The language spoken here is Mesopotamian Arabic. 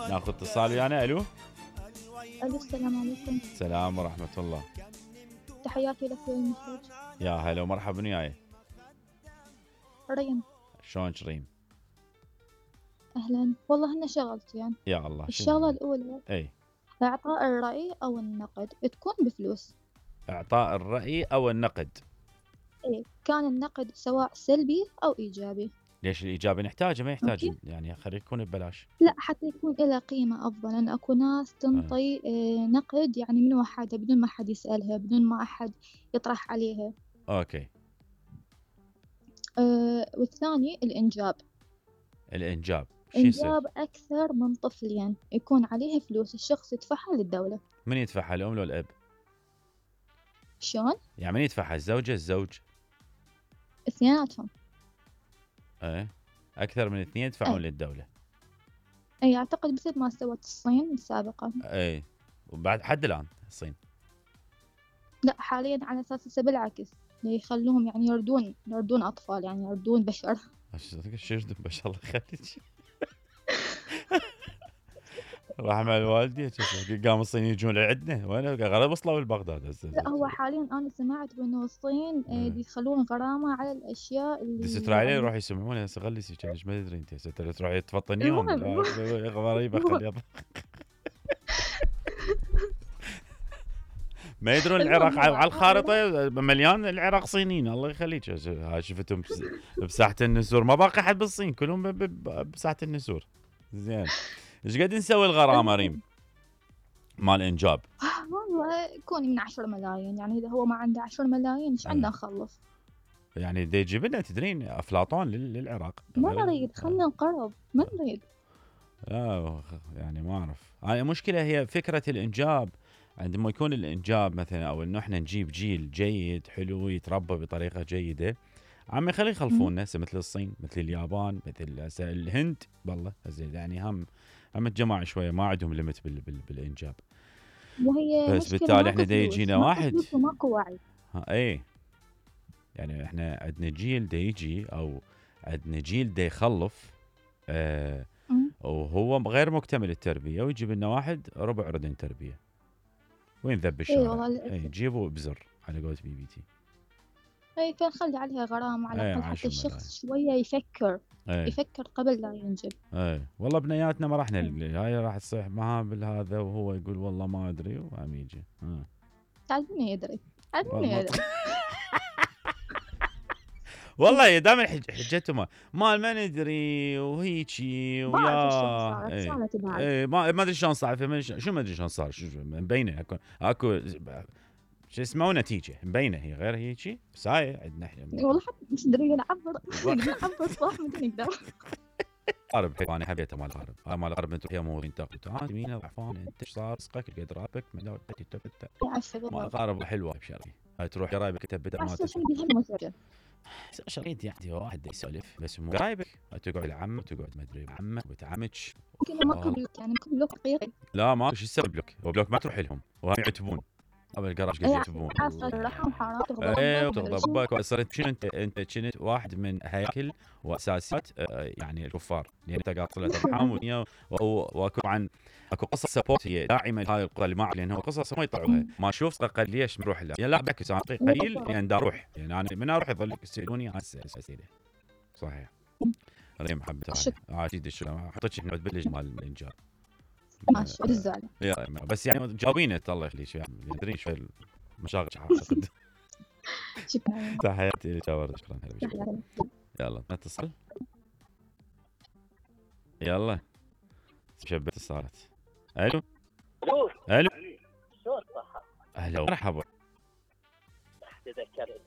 ناخذ اتصال ويانا. الو. الو السلام عليكم. السلام ورحمة الله. تحياتي لك يا المخرج. يا هلا ومرحبا وياي. ريم. شلونك ريم؟ اهلا، والله هن شغلتين يعني. يا الله. الشغلة الأولى اي إعطاء الرأي أو النقد تكون بفلوس. اعطاء الرأي او النقد. إيه، كان النقد سواء سلبي أو إيجابي. ليش الايجابي نحتاجه؟ ما يحتاج يعني خليه يكون ببلاش. لا، حتى يكون له قيمة أفضل، لأن أكو ناس تنطي نقد يعني من وحدها بدون ما أحد يسألها، بدون ما أحد يطرح عليها. اوكي. والثاني الإنجاب. الانجاب إنجاب أكثر من طفلين يكون عليها فلوس، الشخص يدفعها للدولة. من يدفعها، الام ولا الاب؟ شلون؟ يعني من يدفعها، الزوجة الزوج؟ اثنيناتهم. ايه، اكثر من اثنين يدفعون للدولة. اي اعتقد مثل ما سوت الصين سابقا. ايه، وبعد حد الان الصين. لا، حاليا على اساس هسه بالعكس يخلوهم يعني يردون اطفال، يعني يردون بشر. شو يردون بشر؟ الله يخليك. رحمة الوالدي قام الصين يجون لعندنا، وين غرب وصلوا لبغداد هسه. لا، هو حاليا انا سمعت بانه الصين يخلون غرامه على الاشياء اللي اسرائيل يروح يسمعونه هسه. غلسي كانش ما تدري انت هسه تروحي تفطنيهم. غريبه خليها. ما يدرون العراق على الخارطه مليان العراق صينيين. الله يخليك. هاي شفتهم بساحه النسور، ما باقي حد بالصين، كلهم بساحه النسور. زين، ايش قد نسوي الغرامه ريم مال انجاب؟ والله يكون من 10 ملايين، يعني اذا هو ما عنده 10 ملايين ايش عندنا نخلص؟ يعني دا يجيب لنا تدرين افلاطون للعراق. ما نريد، خلينا نقرب، ما نريد. يعني ما اعرف. هاي مشكله، هي فكره الانجاب. عندما يكون الانجاب مثلا، او انه احنا نجيب جيل جيد حلو يتربى بطريقه جيده، عم يخلي يخلفونا مثل الصين، مثل اليابان، مثل الهند. والله يعني هم الجماعه شويه ما عندهم ليمت بالانجاب. وهي بس بالتالي احنا دا يجينا واحد ماكو وعي. اي يعني احنا عندنا جيل دا يجي، او عندنا جيل دا يخلف وهو غير مكتمل التربيه، ويجيب لنا واحد ربع ردن تربيه. وين ذب الشارع؟ جيبوا بزر على قولة بي بي تي. اي، فنخلي عليها غرامة على الأقل حتى الشخص شوية يفكر. يفكر قبل لا ينجب. والله بنياتنا ما راح نلقى هاي، راح تصيح معاه بالهذا وهو يقول والله ما ادري، وعم يجي تعلمني يدري. تعلمني يدري. والله دائما حجتهم ما ندري وهيجي ويا ما ادري شلون صار. شو ما ادري شلون صار، شو مبينه اكو شو اسمه نتيجه مبينه، هي غير هيجي. بس هاي عندنا احنا والله حتى مش ندري نعبر صح ما نقدر. قارب انا حبيته مال الغرب. هاي مال الغرب انتم فيها مورين تاخذ تعال يمين ضعفان انت ايش صار رزقك قد رابك من دور مال الغرب حلوه بشري. هاي تروح قرايبك تبدا ما شريت يعني واحد يسولف بس مو قرايبك. تقعد العم وتقعد ما ادري عمك وبتعمك. يمكن ما بلوك، يعني ممكن بلوك حقيقي. لا ما شو يسوي بلوك، هو بلوك ما تروح لهم وهم يعتبون قبل القراش قاعد يعتبون. تغضبك وصرت شنو انت كنت واحد من هياكل واساسيات يعني الكفار، لان انت قاعد طلعت ارحام واكو عن اكو قصص سبورت هي داعمه لهاي القضيه اللي ما لان هو قصص ما يطلعوها. ما اشوف قال ليش نروح له لا بعكس انا قليل يعني دا اروح، يعني انا من اروح يظل يسالوني اسئله. صحيح. هذه محبه عادي. شو حطيتش احنا بلج مال الانجاب ماشي الزعل بس يعني جاوبينه الله يخليك يعني ادري شوي مشاغل اعتقد. شكرا. تحياتي لك يا ورد. شكرا. يلا نتصل. يلا شبت اتصالات. الو الو. شلون صحة؟ اهلا ومرحبا. تذكرت